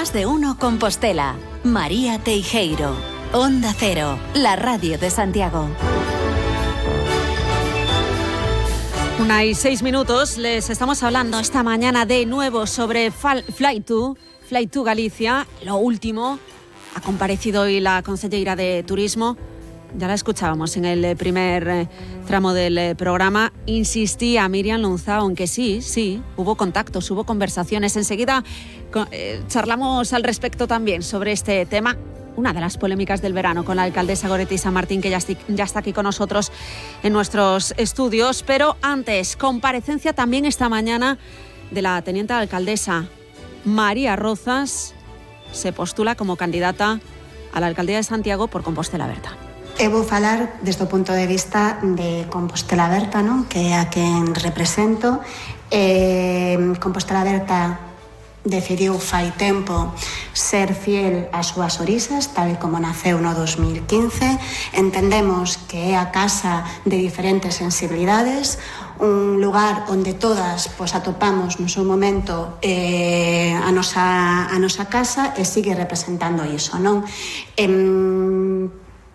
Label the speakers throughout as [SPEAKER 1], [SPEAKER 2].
[SPEAKER 1] Más de Uno Compostela. María Teijeiro. Onda Cero, la radio de Santiago.
[SPEAKER 2] 1:06. Les estamos hablando esta mañana de nuevo sobre Fly2 Galicia. Lo último, ha comparecido hoy la consellera de Turismo. Ya la escuchábamos en el primer tramo del programa. Insistía Míriam Louzao en que sí, hubo contactos, hubo conversaciones. Enseguida charlamos al respecto también sobre este tema. Una de las polémicas del verano con la alcaldesa Goretti San Martín, que ya está aquí con nosotros en nuestros estudios. Pero antes, comparecencia también esta mañana de la teniente alcaldesa María Rozas. Se postula como candidata a la alcaldía de Santiago por Compostela Aberta.
[SPEAKER 3] Vou falar desde o punto de vista de Compostela Aberta, non? Que é a quen represento. Compostela Aberta decidiu fai tempo ser fiel ás súas orizas, tal como naceu no 2015. Entendemos que é a casa de diferentes sensibilidades, un lugar onde todas atopamos no seu momento a nosa casa, e sigue representando iso, non?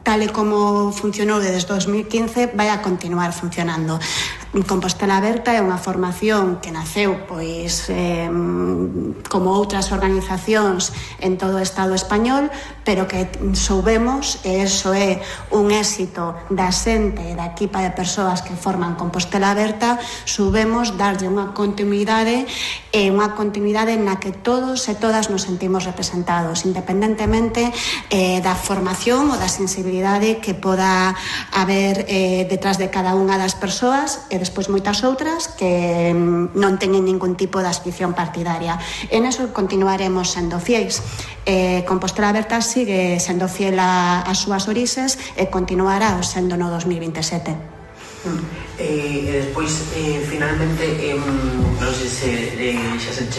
[SPEAKER 3] Tal e como funcionou desde 2015, vai a continuar funcionando. Compostela Aberta é unha formación que naceu como outras organizacións en todo o Estado español, pero que soubemos, e iso é un éxito da xente e da equipa de persoas que forman Compostela Aberta, soubemos darlle unha continuidade na que todos e todas nos sentimos representados, independentemente da formación ou da sensibilidade que poda haber detrás de cada unha das persoas, e despois moitas outras que non teñen ningún tipo de adscripción partidaria. En eso continuaremos sendo fiéis. Compostela Aberta sigue sendo fiel ás súas orixes e continuará sendo no 2027.
[SPEAKER 4] E despois, finalmente, non sei se xa se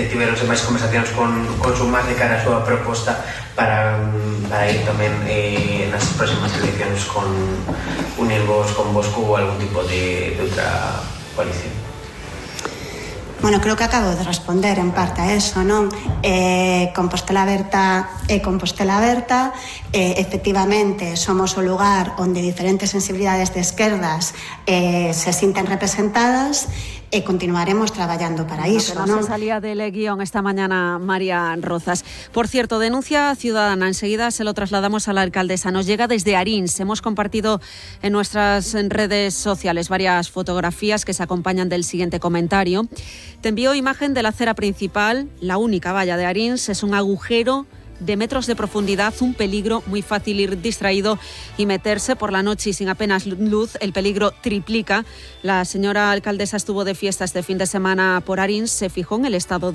[SPEAKER 4] tiveronse máis conversacións con Sumar de cara a súa proposta para ir tamén nas próximas eleccións con unirvos con Bosco ou algún tipo de outra coalición.
[SPEAKER 3] Bueno, creo que acabo de responder en parte a eso, non? Compostela Aberta é Compostela Aberta. Efectivamente, somos o lugar onde diferentes sensibilidades de esquerdas se sinten representadas, e continuaremos traballando para iso,
[SPEAKER 2] non? Se salía del guión esta mañana María Rozas. Por cierto, denuncia ciudadana, enseguida se lo trasladamos a la alcaldesa. Nos llega desde Arins. Hemos compartido en nuestras redes sociales varias fotografías que se acompañan del siguiente comentario. Te envío imagen de la acera principal. La única valla de Arins es un agujero de metros de profundidad, un peligro, muy fácil ir distraído y meterse por la noche y sin apenas luz. El peligro triplica. La señora alcaldesa estuvo de fiesta este fin de semana por Arins, se fijó en el estado de